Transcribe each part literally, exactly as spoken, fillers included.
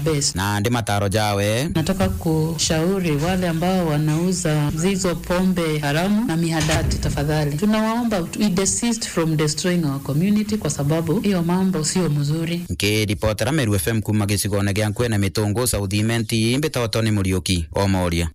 best. Na ndi mataro jawe. Nataka kushauri wale ambao wanauza zizo pombe haramu na mihadarati, tafadhali. Tunawaomba, we desist from destroying our community kwa sababu hiyo mambo sio mzuri. Nkiripotera Meru F M kuma gicigone gia Nkwene Mitungu, South Imenti, mbitagwa Tony Muriuki, Omoria.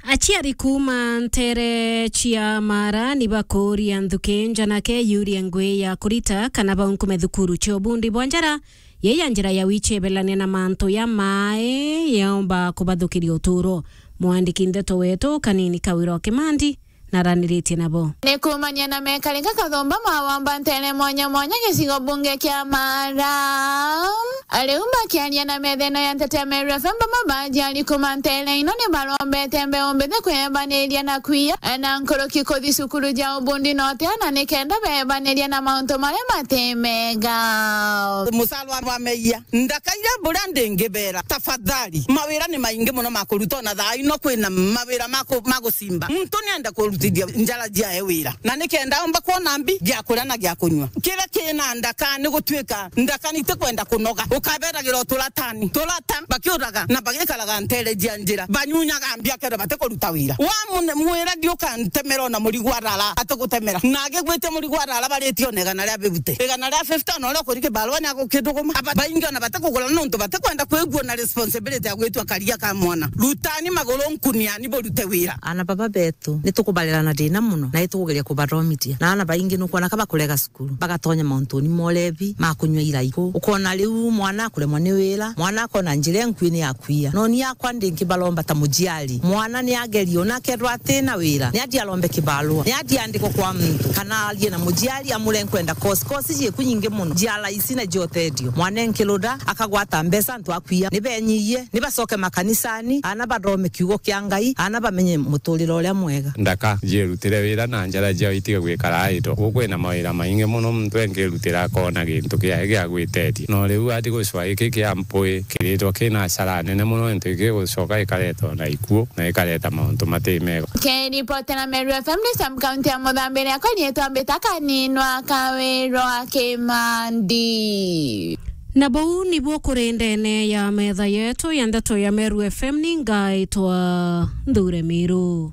Aciari kuuma nteere cia Maara ni bakuuria nthuki njanake yurie ngui ya kurita kana baunkume thukuru cia ubundi bwa njara, yei ya njira ya wichebelania na mantu ya maai yaumba kubathukiria utuuro. Mwandiki ndeto wetu Kanini Kawira wa Kimandi naraniritie nabo. Ni kuumania na mekarika kathumba mawamba nteere mwanya mwanya gicigo bunge kia Maara. Ariu bakiaria na metheno ya nteto ya Meru F M, bamwe ba aciari kuuma nteere ino ni barombete mbeu mbithi kwebaniria na kwia na nkuruki kuthi cukuru ja ubundi na utia, na nikenda bebaniria na mauntu maria mati mega. Musalwa wa meia, ndakaira buria ndingibera. Tafadhali, mawira ni maingi mono ma kuruta, ona thaa ino kwina mawira ma ku-, ma gucimba. Muntu nienda kurutithia njara ciae wira, na nikenda omba kwona mbi gia kuria na gia kunyua. Kiria kina ndaka ni gutuika ndaka ni itikwenda kunoga. Ukaberagira o turatani, turata, bakiuraga na bagikaraga nteere cia njira, banyunyaga mbia kenda batikuruta wira. Wa mune-, mwira ndiukantemera ona murigu arara, atigutemera. Na agigwitia murigu arara baritie ona igana ria fifty. Igana ria fifty ona uria ukuri kibarua ni agukithuguma. Aba-, baingi ona batikugura nontu batikwenda kwigua na responsibility ya gwitua karia ka mwana. Rutani maguru nkuniani burute wira. Ana baba betu, ni tukubarera na thina mono, na itukugeria kubathomithia. Na ana baingi nukwona ka bakurega cukuru, bagatonya mauntuni ma urebi, ma kunyua iraiku. Ukona riu mwana akuremwa ni wira, mwana akona njira inkui ni ya kwia. No ni akwa ndingibaromba ta muciari. Mwana ni agerie, ona akethirwa ati na wira, ni athie arombe kibarua, ni athie andikwe kwa muntu, kana arie na muciari amure nkwenda course. Course ciiku nyingi mono, cia raici na cia uteethio. Mwana enkiruda, akagwata mbeca, antu akwia. Ni benyiyie, ni bacoke makanisani, ana bathome kiugo kia Ngai, ana bamenye muturire uria mwega. Ndaka, ciirutire wira na njara ciao itige gwikara idle. Guku kwina mawira maingi mono muntu engirutira akona gintu kiae gia gwiteethia. No riu athi gucwa giki kia mpui kiritwa kina hasara nene mono, into igigucoka ikareta ona ikuo na ikareta mauntu mati mega. Nkiripotera Meru F M ni sub county ya Muthambi, akwa riitwa mbita Kaninwa Kawirwa Kimandi. Na bau nibuo kuri ndene ya metha yetu ya ndeto ya Meru F M, ni ngaitwa Nthure Miru.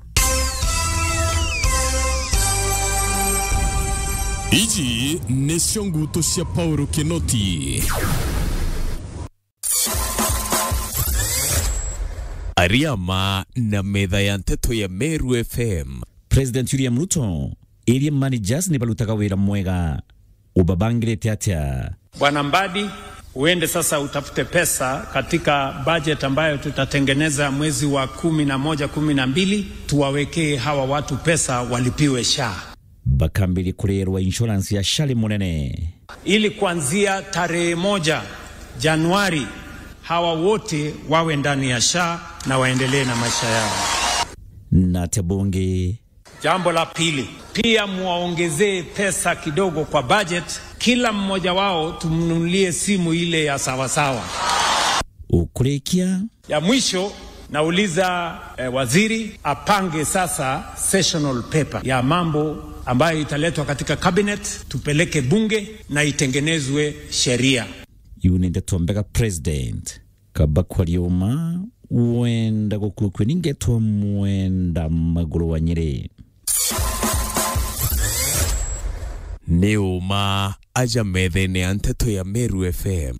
Iji nicio ngutu cia Paul Kinoti. Ariama na metha ya nteto ya Meru F M. President William Ruto, area managers ni barutaga wira mwega. Ubabangirite atia? Bwana Mbadi, uende sasa utafute pesa katika budget ambayo tutatengeneza mwezi wa kumi na moja, kumi na mbili, tuwawekee hawa watu pesa walipiwe SHA. Bakambiria kurierwa insurance ya SHA ri munene. Ili kuanzia tarehe moja Januari, hawa wote wawe ndani ya SHA na waendelee na maisha yao. Na atia bungi? Jambo la pili, pia muwaongezee pesa kidogo kwa budget, kila mmoja wao tumnunulie simu ile ya sawasawa. Ukurikia? Ya mwisho, nauliza, eh, waziri apange sasa sessional paper ya mambo ambayo italetwa katika cabinet, tupeleke bunge na itengenezwe sheria. Iu ni ndeto mbega, President. Kaba kwaria uma, wenda gukua kwe ni ngetwa Mwenda Maguru wa Nyeri. Ni uma aja methene ya nteto ya Meru F M.